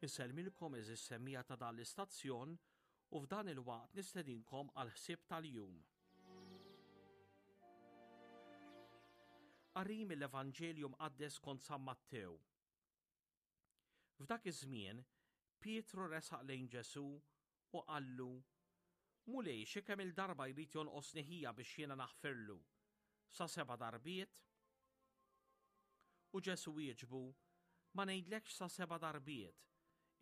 Insellmilkom eżis semmija ta' dan l-istazzjon u f'dan il-waqt nistedinkom għal ħsieb tal-jum. Qari mill-Evanġelju Mqaddes kont San Mattew. F'dak iż-żmien, Pietru resaq lejn Ġesù u qallu, Mulej, xi kemm-il darba jrid jonqosni ħija biex jiena naħfirlu? Sa seba' darbiet? U Ġesù wieġbu, Ma ngħidlekx sa seba' darbiet,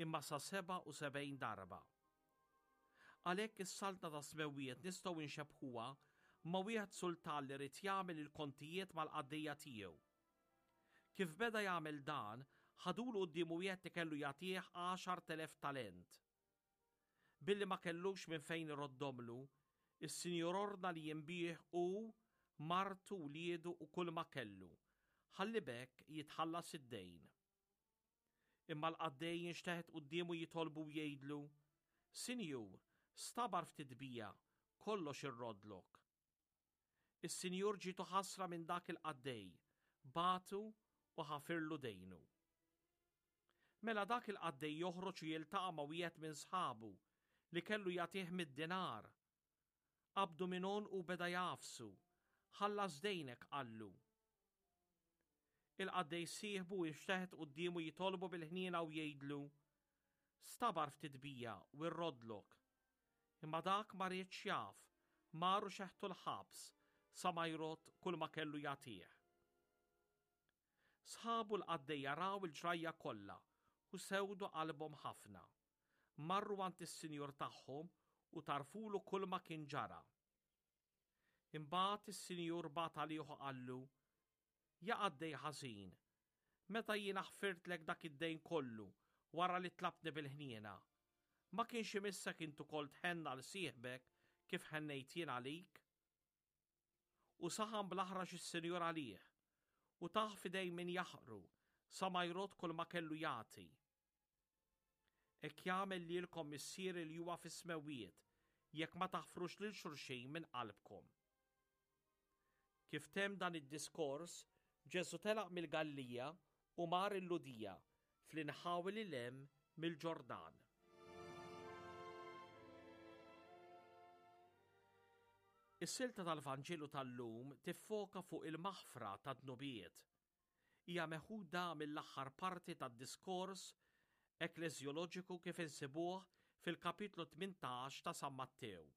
imma sa 77 darba. Għalhekk is-Saltna tas-Smewwiet nistgħu nxebbħuha ma' wieħed sultan li ried jagħmel il-kontijiet mal-qaddejja tiegħu. Kif beda jagħmel dan, ħadulu quddiemu wieħed li kellu jagħtih 10,000 talent. Billi ma kellux minn fejn iroddomlu, is-sinjur ordna li jinbiegħ hu, martu, wliedu u kulma kellu, ħalli b'hekk jitħallas id-dejn. Imma l-qaddej jinxteħet quddiemu jitolbu u jgħidlu, Sinjur, stabar ftit bija, kollox irroddlok. Is-sinjur ġietu ħasra minn dak il-qaddej, bagħtu u ħafirlu dejnu. Mela dak il-qaddej joħroġ u jiltaqa' ma' wieħed minn sħabu li kellu jagħtih mid-dinar. Qabdu minn għonqu u beda jagħfsu. Ħallas dejnek, qallu. Il-qaddej sieħbu inxteħet quddiemu jitolbu bil-ħniena u jgħidlu, Stabar ftit bija u rroddlok. Imma dak ma riedx jaf, mar u xeħtu l-ħabs sa ma jrodd kull ma kellu jagħtih. Sħabu l-qaddejja raw il-ġrajja kollha u sewdu qalbhom ħafna. Marru għand is-sinjur tagħhom u tarfulu kull ma kien ġara. Imbagħad is-sinjur bagħat għalih u qallu, Ja qaddej ħażin, meta jiena ħfirtlek dak id-dejn kollu wara li tlabtni bil-ħniena, ma kienx imissek int ukoll tħenn għal sieħbek kif ħennejt jien għalik? U saħan bl-aħrax is-sinjur għalih, u tah f'idejn min jaħqru sa ma jrodd kull ma kellu jagħti. Hekk jagħmel lilkom Missieri li huwa fis-smewwiet jekk ma taħfrux lil xulxin minn qalbkom. Kif temm dan id-diskors, Ġesù telaq mill-Galilija u mar il-Lhudija, fl-inħawi lil hemm mill-Ġordan. Is-silta tal-Vanġelu tal-lum tiffoka fuq il-maħfra tad-dnubiet. Hija meħuda mill-aħħar parti tad-diskors ekkleżjoloġiku kif insibuh fil-kapitlu 18 ta' San Mattew.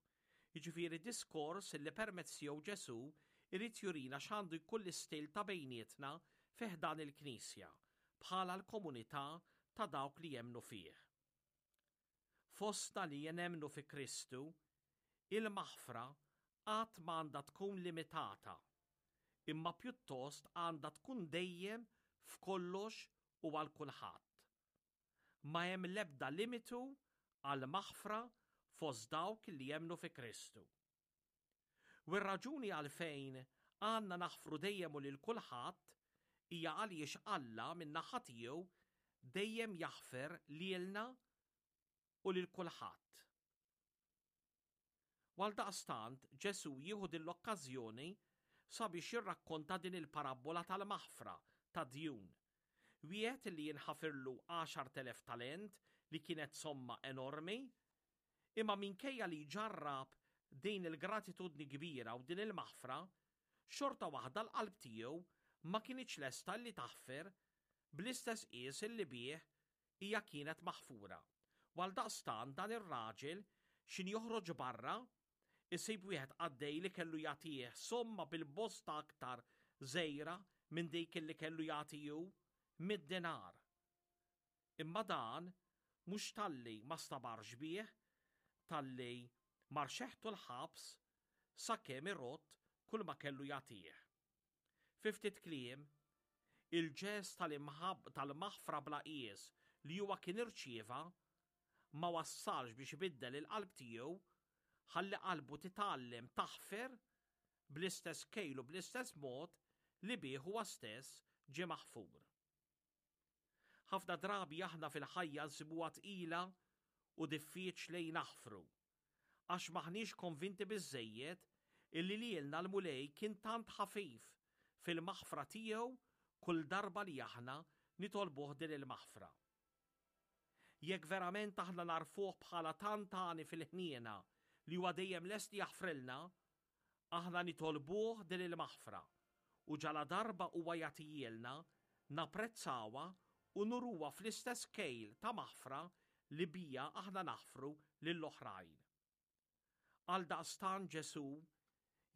Jiġifieri diskors li permezz tiegħu Ġesù jrid jurina x'għandu jkun l-istil ta' bejnietna fi ħdan il-Knisja, bħala l-komunità ta' dawk li jemmnu fih. Fostna li nemmnu fi Kristu, il-maħfra qatt ma għandha tkun limitata, imma pjuttost għandha tkun dejjem f'kollox u għal kulħadd. Ma hemm l-ebda limitu għall-maħfra fost dawk li jemmnu fi Kristu. U r-raġuni għalfejn għandna naħfru dejjem u lil kulħadd hija għaliex Alla min-naħa tiegħu dejjem jaħfer lilna u lil kulħadd. U għaldaqstant Ġesù jieħu din l-okkażjoni sabiex jirrakkonta din il-parabbola tal-maħfra tad-djun. Wieħed li jinħafirlu 10,000 talent li kienet somma enormi, Imma minkejja li jġarrab din il-gratitudni kbira u din il-maħfra, xorta waħda l-qalb tiegħu ma kinitx lesta li taħfer bl-istess qies li bih hija kienet maħfura. U għaldaqstant dan ir-raġel x'in joħroġ barra, isib wieħed qaddej li kellu jagħtih somma bil-bosta aktar żgħira minn dik li kellu jagħti hu, mid-dinar. Imma dan mhux talli ma stabarx bih, talli mar xeħtu l-ħabs sakemm irodd kull ma kellu jagħtih. Fi ftit kliem, il-ġest tal-maħfra bla qies li huwa kien irċieva ma wassalx biex ibiddel il-qalb tiegħu ħalli qalbu titgħallem taħfer bl-istess kejl u bl-istess mod li bih huwa stess ġie maħfur. Ħafna drabi aħna fil-ħajja nsibuha tqila u diffiċli naħfru, għax m'aħniex konvinti biżżejjed illi lilna l-Mulej kien tant ħafif fil-maħfra tiegħu kull darba li aħna nitolbuh din il-maħfra. Jekk verament aħna nagħrfuh bħala tant għani fil-ħniena li huwa dejjem lest li jaħfrilna, aħna nitolbuh din il-maħfra u ġaladarba huwa jagħtihielna, napprezzawha u nuruha fl-istess kejl ta' maħfra li biha aħna naħfru lill-oħrajn. Għaldaqstant Ġesù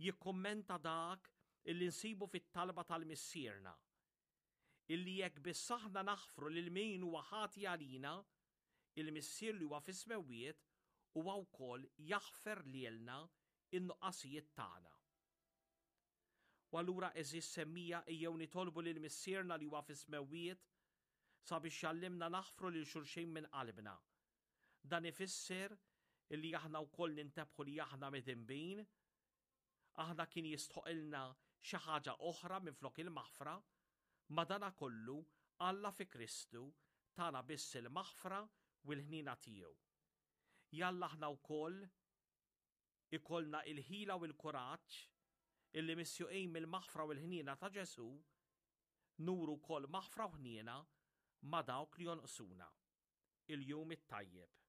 jikkummenta dak illi nsibu fit-talba tal-Missierna, illi jekk biss aħna naħfru lil min huwa ħati għalina, il-Missier li huwa fis-smewwiet huwa wkoll jaħfer lilna n-nuqqasijiet tagħna. U allura għeżież semmija ejjew nitolbu lil Missierna li huwa fis-smewwiet sabiex jgħallimna naħfru lil xulxin minn qalbna. Dan ifisser illi aħna wkoll nintebħu li aħna midinbin, aħna kien jistħoqilna xi ħaġa oħra minflok il-maħfra, madanakollu Alla fi Kristu tana biss il-maħfra u l-ħniena tiegħu. Jalla aħna wkoll ikollna il-ħila u l-kuraġġ illi misjuqin mill-maħfra u l-ħniena ta' Ġesù, nuru wkoll maħfra u ħniena ma' dawk li jonqsuna. Il-jum it-tajjeb.